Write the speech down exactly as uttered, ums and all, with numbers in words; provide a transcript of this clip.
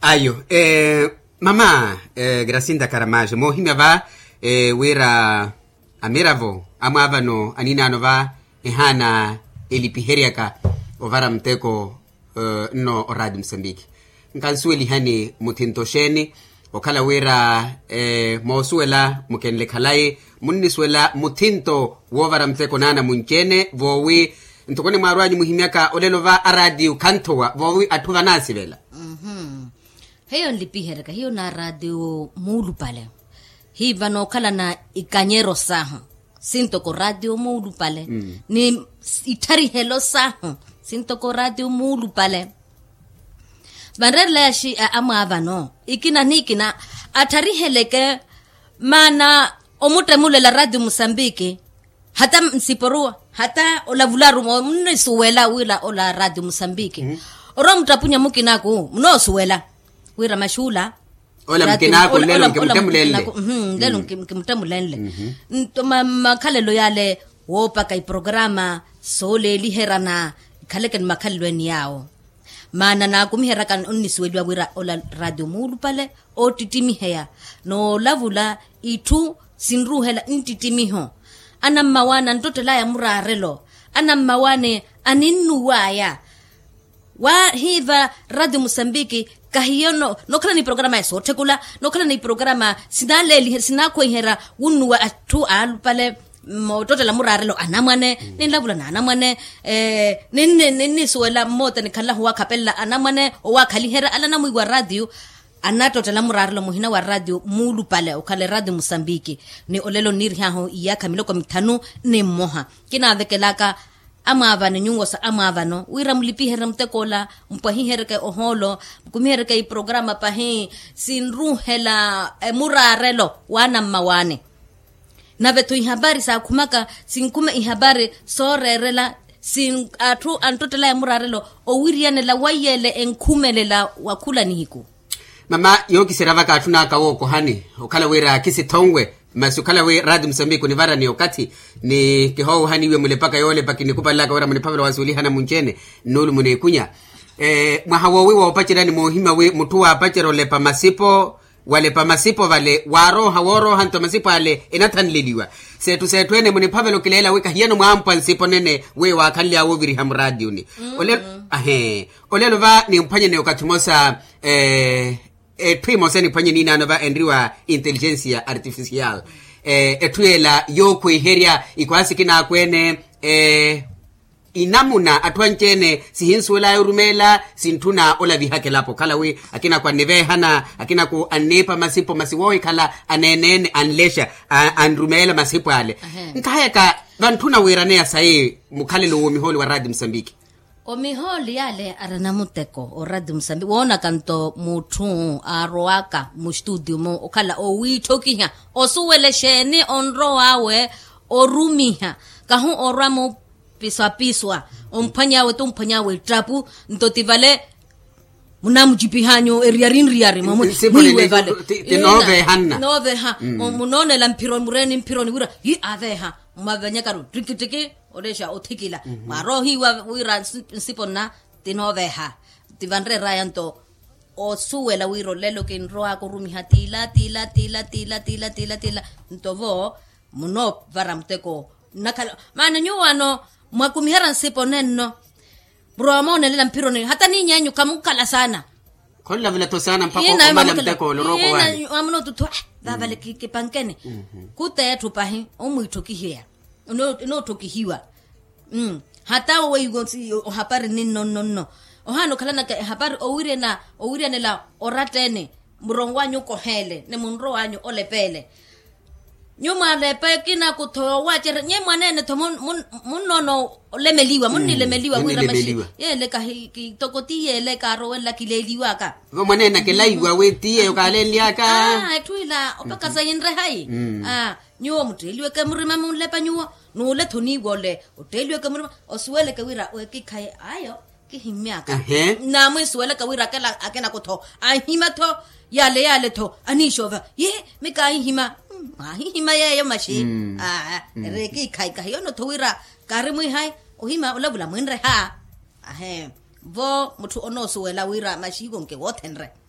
Ayo, mama, grasinda karamajo moohimya va, wira amiravo amwaavano aninaano va ehaana elipiheryaka ovara muteko nno oraati musambiki. Nkansuwelihani muthinto xeeni okhala wira moosuwela mukenle khalayi munnisuwela muthinto woovara muteko naana munci-ene voowi ntoko onimwaarwanyu muhimyaka olelo va araatiyu khanthowa voowi atthu vanaasivela. Hiyo nlipiheryaka hiyo na raatiyo muulupale. Hiiva nookhalana ikanyero sahu sintoko raatiyo muulupale ni itharihelo sahu sintoko raatiyo muulupale. Vanreerela yaxi amwaavano ikina n'ikina atthariheleke maana omuttemulela raatiyo musambiki. Hata nsiporuwa hata olavularu munnisuwela wira ola raatiyo musambiki. Orowa muttapunya mukinaku munoosuwela wira maxuula ola mukinaku nlelo nkimuttemulenle. Nto makhalelo yale woopaka iprograma sooleeliheryana ikhaleke ni makhalelo ene yaawo. Maana naakumiheryaka onnisuweliwa wira ola raatiyo muulupale oottittimiheya noolavula itthu sinruuhela nttittimiho. Anammawaani anttottelaya muraarelo anammawaani aninnuwaya. Wa hiiva raatiyo musambiki kahiyo nookhala ni programa ya sootthekula nookhala ni programa sinaleeliherya sinaakhweiherya wunnuwa atthu aalupale moottottela muraarelo anamwane ninlavula n'anamwane ninnisuwela mmoota nikhanlahu owaakhapelela anamwane owaakhaliherya ale anamwiiwa raatiyo. Anattottela muraarelo muhina wa raatiyo muulupale okhala eraatiyo musambiki ni olelo nniirih'ahu iyaakha miloko mithanu ni mmoha. Kinaavekelaka amwaavano nyuwo sa amwaavano wira mulipiherye mutek'ola mpwahiheryeke ohoolo mukumiheryeke iprograma pahi sinruuhela muraarelo w'anammawaani. Nave-tho ihapari saakhumaka sinkhume ihapari sooreerela si atthu anttottelaya muraarelo owiriyanela weiyeele enkhumelela wa khula nihiku. Mama yookiserya vaka atthu naaka wookohani okhala wira kisithonwe masi okhala wi raati musambiki onivarani okathi ni kihoohaniwe mulepaka yoolepa kinikupalelaka wira muniphavela wansuwelihana munci-ene nnuulu muniikunya. Mwaha woowi woopaceryani moohimya wi mutthu waapacerya olepa masipo walepa masipo vale waarooha woorooha nto masipo ale enathanleliwa. Seettu seettu ene muniphavela okileela wi kahiyano mwaampwa nsipo nene wi waakhanly'awe oviriha muraatiyuni. Olelo va nimphwanyene okathi mmosa etthu emosa eniphwanye niinaano va enriwa inteligensia artificial etthu yeela yookhweiherya ikhwaasi kinaakweene. Inamuna atthu anci-ene sihinsuwel'aya orumeela sintthuna olavihaka elapo okhala wi akinakhu anniveehana akinakhu anniipa masipo masi woohikhala aneene-ene anlexa anrumeela masipo ale. Nkahayaka vantthuna wiiraneya sayi mukhalelo w'omihooli wa raati musambiki. Omihooli yaale ari anamuteko oraati musambiki woonaka nto mutthu aarowaka mustutiyu-mu okhala owiitthokiha osuwele exeeni onrow'awe orumiha kahu orwa mupiswapiswa omphwany'awe ti omphwany'awe ettapu nto ti vale munamucipih'anyu eriyari nriyari mwiiwe vale. Tinooveehanna nooveeha munoonela mphironi mureeni mphironi wira yi aveeha mwavenyakaru ttikitiki olexa othikila mwaroohiwa wira nsipo nna tinooveeha. Ti vanreer'aya nto osuwela wira olelo kinrow'aka orumiha tiila tiila tiila tiila tiila tiila nto vo munoovara muteko nnakhala maana nyuwo ano mwakumiherya nsipo nenno murowa moonelela mphironi hata niiny'enyu khamukhala saana. Khonlavula-tho saana mpakha omala muteko ole orooko wanyu. Amunootuthu vaavale kipankene khuteetthu pahi omwiitthokihiwa. Enootthokihiwa hata weiwo ohapari ninno nno nno ohaana okhalanaka ehapari owiryanela oratta-ene muronw'anyu okoheele ni munrow'anyu olepeele. Nyuwo mwalepa ekinaku-tho yoowacerya nyuwo mwaneene-tho munnoona olemeliwa munnilemeliwa wira maxi yeele kahi kitoko ti yeele kaarowelela kileeliwaka. Vo mwaneene akelaiwa wi ti yeeyo kaalenly'aka. Etthu ila opakasa yinre hayi. Nyuwo mutteeliweke murima munlepa nyuwo n'ule-tho niiwole otteeliweke murima osuweleke wira ekikhayi ayo kihimmyaka. Naamwiisuwelaka wira akinaku-tho anhima-tho yale yale-tho aniixoova yi mikaahihima. Mwaahihima yeeyo maxi aa ere ekikhayi kahiyono-tho wira kaari mwiihayi ohima olavula mwinreha. Ahe vo mutthu onoosuwela wira maxi hikonke woothenre.